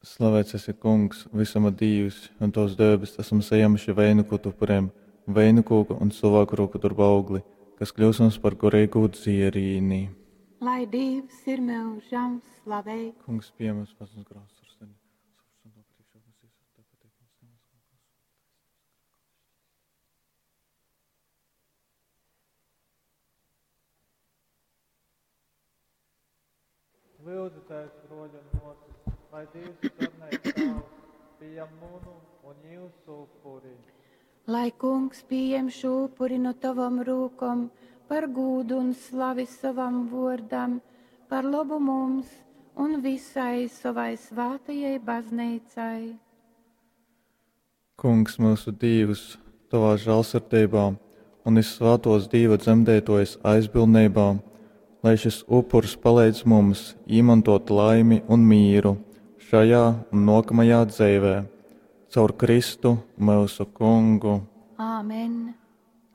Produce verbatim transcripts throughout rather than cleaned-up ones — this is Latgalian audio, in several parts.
Slavēts esi, Kungs, visuma Dīvs, un Tavs debes esam saņēmuši veinuku upuriem, veinu kūka un cilvēku roku darba augli, kas kļūs mums par garīgu dzierīni. Lai Dievs ir mūžam slavēts. Kungs, pieņem pats mums grāmatas ar sevi. Lūdzu, Tēvs, broļi un māsas, lai Dievs sarnais Tēvs pieņem munu un jūsu upuri. Lai kungs pieņem šo upuri no tavam rūkom par gūdu un slavi savam vārdam, par labu mums un visai savai svētajai baznīcai. Kungs, mūsu Dievs, tavā žēlsirdībā un izsvētos Dieva dzemdētojas aizbildnībā, lai šis upurs palīdz mums īmantot laimi un mīru šajā un nākamajā dzīvē, caur Kristu mūsu Kungu. Āmen!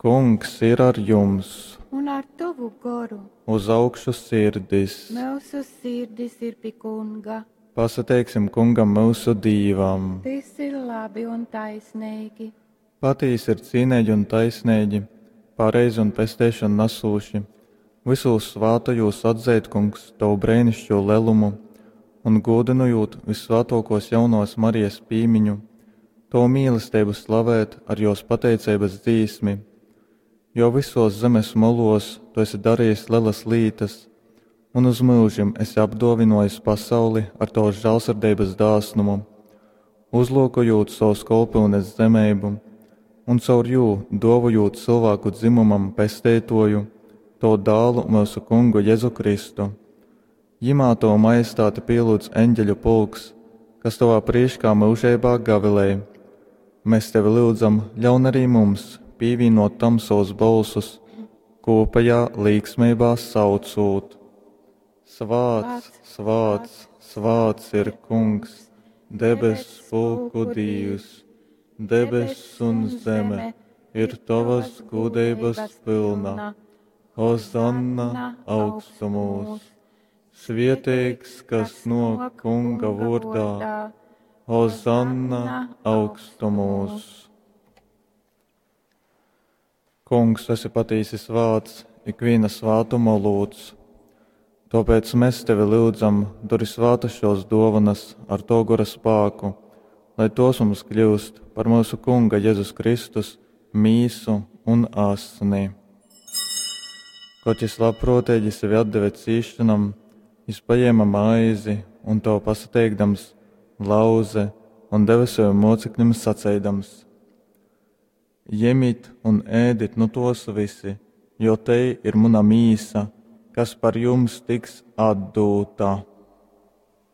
Kungs ir ar jums, Un ar tavu goru uz augšu sirdis. mūsu sirdis ir pie kunga. Pasateiksim kungam mūsu Dīvam. Tas ir labi un taisnīgi. Patīs ir cīnīgi un taisnīgi, pareizi un pesteišanu nesūši. Visos svātajos atzīt, kungs, tavu brēnišķo lelumu un godinojot visvētokos jaunos Marijas pīmiņu, tavu mīlestību slavēt ar jos pateicības dzīsmi, jo visos zemes molos tu esi darījis lielas lītas un uz mūžim esi apdovinojis pasauli ar tavas žēlsirdības dāsnumu, uzlūkojot savus kolpūnes zemību un caur jū dovojot cilvēku dzimumam pesteitoju, to dālu mūsu kungu Jēzu Kristu. Jimā tavu majestāti pielūdz eņģeļu pulks, kas tavā priekšā mūžībā gavilē. Mēs tevi lūdzam, ļaun arī mums pīvīnot tam savus balsus, kopējā līksmībā saucot. Svāts, svāts, svāts ir kungs, debes pulku Dievs, debes un zeme ir tavas gudrības pilna. Hozanna augstumos, svietīgs, kas no kunga vārdā, Hozanna augstumos. Kungs, esi patīsi svāts, ikviena svātuma lūdz. Tāpēc mēs tevi lūdzam, dori svātas šos dovanas ar to gora spēku, lai tos mums kļūst par mūsu Kunga Jēzus Kristus mīsu un asni. Kaut jis labprātīgi sevi atdeva cīšanam, jis paņēma maizi un to pasateikdams, lauze un deva saviem mocekļiem saceidams: Ņemiet un ēdit nu tos visi, jo te ir mana mīsa, kas par jums tiks atdūta.